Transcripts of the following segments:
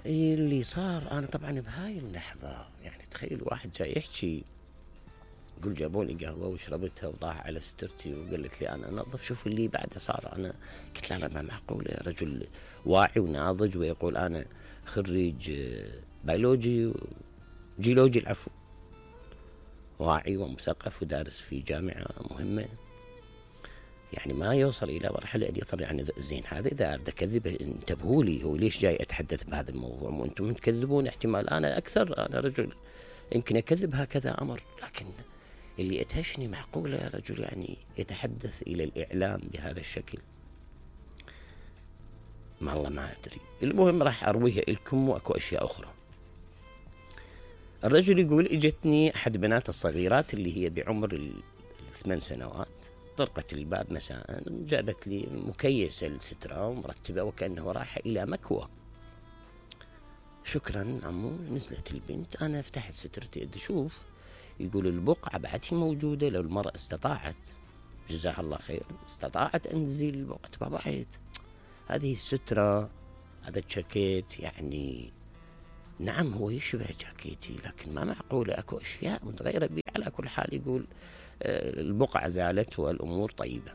اللي صار أنا طبعًا بهاي اللحظة يعني تخيل واحد جاي يحكي يقول جابوا لي قهوة وشربتها وضاع على سترتي وقالت لي أنا أنظف، شوف اللي بعده صار. أنا قلت لا ما معقولة، رجل واعي وناضج ويقول أنا خريج بيولوجي جيولوجي العفو، واعي ومثقف ودارس في جامعة مهمة، يعني ما يوصل إلى مرحلة أن يطلع يعني زين هذا إذا أريد أكذب انتبهوا لي، هو ليش جاي أتحدث بهذا الموضوع وأنتم تكذبون؟ احتمال أنا أكثر، أنا رجل يمكن أكذب هكذا أمر، لكن اللي أدهشني معقولة رجل يعني يتحدث إلى الإعلام بهذا الشكل. ما الله ما أدري. المهم راح أرويها لكم وأكو أشياء أخرى. الرجل يقول اجتني أحد بنات الصغيرات اللي هي بعمر 8 سنوات، طرقت الباب مساء، جابت لي مكيسة السترة ومرتبة وكأنه رايحة إلى مكوى. شكرا عمو. نزلت البنت، أنا فتحت سترتي أدي شوف، يقول البقعة بعدها موجودة، لو المرأة استطاعت جزاها الله خير استطاعت أن تزيل البقعة تبعت هذه السترة، هذا الجاكيت يعني نعم هو يشبه جاكيتي لكن ما معقولة أكو أشياء متغيرة بي. على كل حال يقول البقعة زالت والأمور طيبة.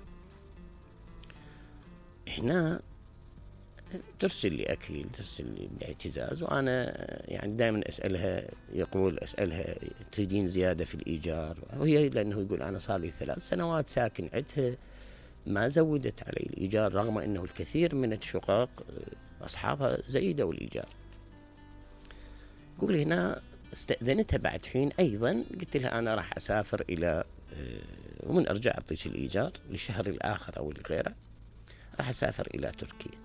هنا ترسل لي أكل، ترسل لي باعتزاز، وأنا يعني دائما أسألها، يقول أسألها تريدين زيادة في الإيجار؟ وهي لأنه يقول أنا صار لي 3 سنوات ساكن عندها ما زودت علي الإيجار، رغم أنه الكثير من الشقق أصحابها زيدوا الإيجار. يقول هنا استأذنتها بعد حين أيضا، قلت لها أنا راح أسافر إلى ومن أرجع أعطيك الإيجار للشهر الآخر أو لغيره، راح أسافر إلى تركيا.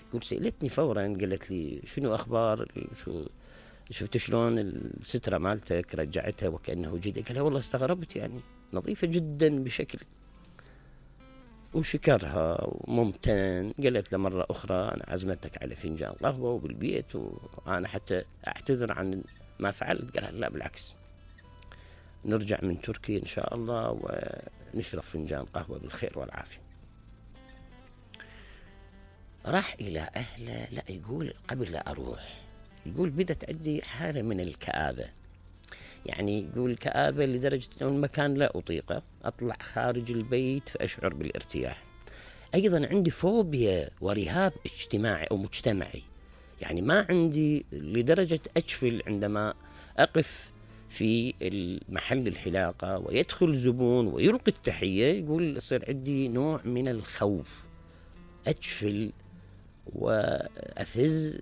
يقول سألتني فورا قالت لي شنو أخبار، شو شفت شلون السترة مالتك رجعتها وكأنه جديد؟ قال والله استغربت يعني نظيفة جدا بشكل، وشكرها وممتن. قالت له مرة أخرى أنا عزمتك على فنجان قهوة وبالبيت، وأنا حتى أعتذر عن ما فعلت. قال لا بالعكس، نرجع من تركيا إن شاء الله ونشرب فنجان قهوة بالخير والعافية. راح إلى أهله. لا يقول قبل لا أروح يقول بدت عندي حالة من الكآبة، يعني يقول كآبة لدرجة أن المكان لا أطيقه، أطلع خارج البيت فأشعر بالارتياح. أيضا عندي فوبيا ورهاب اجتماعي أو مجتمعي، يعني ما عندي لدرجة أجفل عندما أقف في المحل الحلاقة ويدخل زبون ويلقي التحية. يقول يصير عندي نوع من الخوف، أجفل وأفز،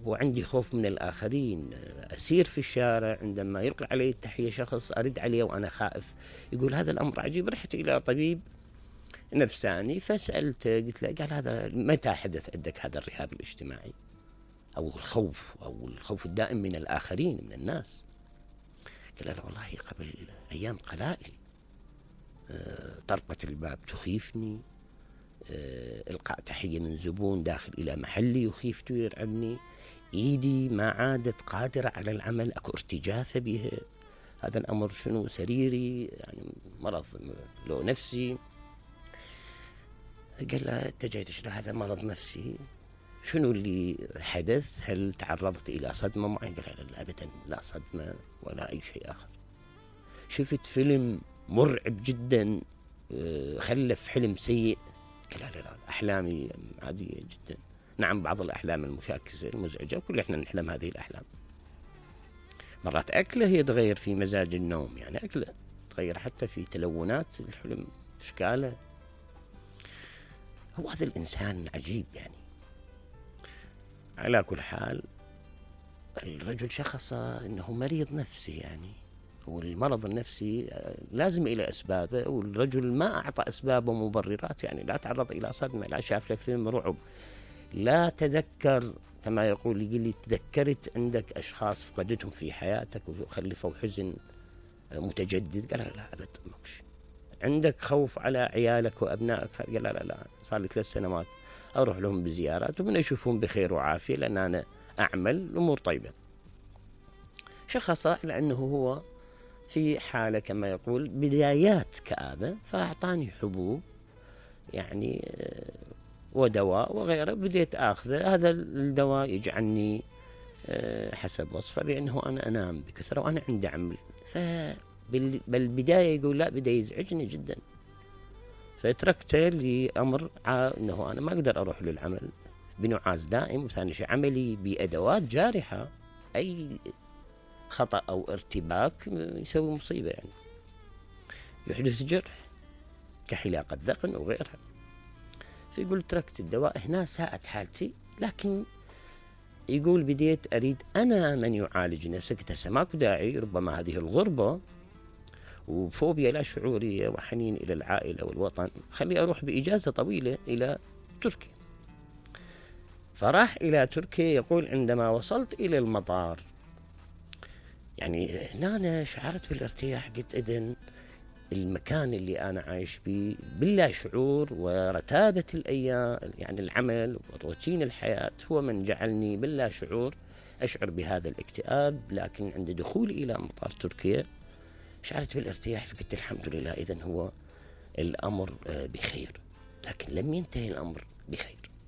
وعندي خوف من الآخرين. أسير في الشارع عندما يلقي علي التحية شخص أرد عليه وأنا خائف. يقول هذا الأمر عجيب. رحت إلى طبيب نفساني فسألته، قلت له قال هذا متى حدث عندك هذا الرهاب الاجتماعي أو الخوف الدائم من الآخرين من الناس؟ قال له والله قبل أيام قلائل طرقة الباب تخيفني، إلقاء تحية من زبون داخل إلى محلي يخيف يرعبني، إيدي ما عادت قادرة على العمل، أكو ارتجافة بها. هذا الأمر شنو سريري يعني مرض لو نفسي؟ قال له أنت جاي تشرح هذا مرض نفسي، شنو اللي حدث؟ هل تعرضت إلى صدمة معينة؟ قال لا أبدا، لا صدمة ولا أي شيء آخر. شفت فيلم مرعب جدا خلف حلم سيء؟ قال لا أحلامي عادية جدا. نعم بعض الأحلام المشاكسة المزعجة وكل إحنا نحلم هذه الأحلام. مرات أكله يتغير في مزاج النوم، يعني أكله تغير حتى في تلونات الحلم إشكاله. هو هذا الإنسان عجيب يعني. على كل حال الرجل شخص أنه مريض نفسي، يعني والمرض النفسي لازم إلى أسبابه، والرجل ما أعطى أسباب ومبررات، يعني لا تعرض إلى صدمة، لا شاف له فيلم رعب، لا تذكر كما يقول لي تذكرت عندك أشخاص فقدتهم في حياتك وخلفوا حزن متجدد؟ قال لا أبد ماكش. عندك خوف على عيالك وأبنائك؟ قال لا صار لي 3 سنوات أروح لهم بزيارات ومن أشوفهم بخير وعافية لأن أنا أعمل الأمور طيبة. شخص على أنه هو في حالة كما يقول بدايات كآبة، فأعطاني حبوب يعني ودواء وغيره بديت آخذه. هذا الدواء يجعلني حسب وصفه بأنه أنا أنام بكثرة وأنا عندي عمل. بالبداية يقول لا، بدأ يزعجني جدا، فتركته لأمر أنه أنا ما أقدر أروح للعمل بنعاس دائم، وثاني شيء عملي بأدوات جارحة، أي خطأ أو ارتباك يسوي مصيبة، يعني يحدث جرح كحلاقة ذقن وغيرها. فيقول تركت الدواء، هنا ساءت حالتي، لكن يقول بديت أريد أنا من يعالج نفسه. قلت هسه ماكو داعي، ربما هذه الغربة وفوبيا لا شعورية وحنين إلى العائلة والوطن، خلي أروح بإجازة طويلة إلى تركيا. فراح إلى تركيا. يقول عندما وصلت إلى المطار يعني هنا أنا شعرت بالارتياح. قلت إذن المكان اللي أنا عايش به باللا شعور ورتابة الأيام، يعني العمل وروتين الحياة، هو من جعلني باللا شعور أشعر بهذا الاكتئاب. لكن عند دخولي إلى مطار تركيا شعرت بالارتياح، فقلت الحمد لله، إذن هو الأمر بخير. لكن لم ينتهي الأمر بخير.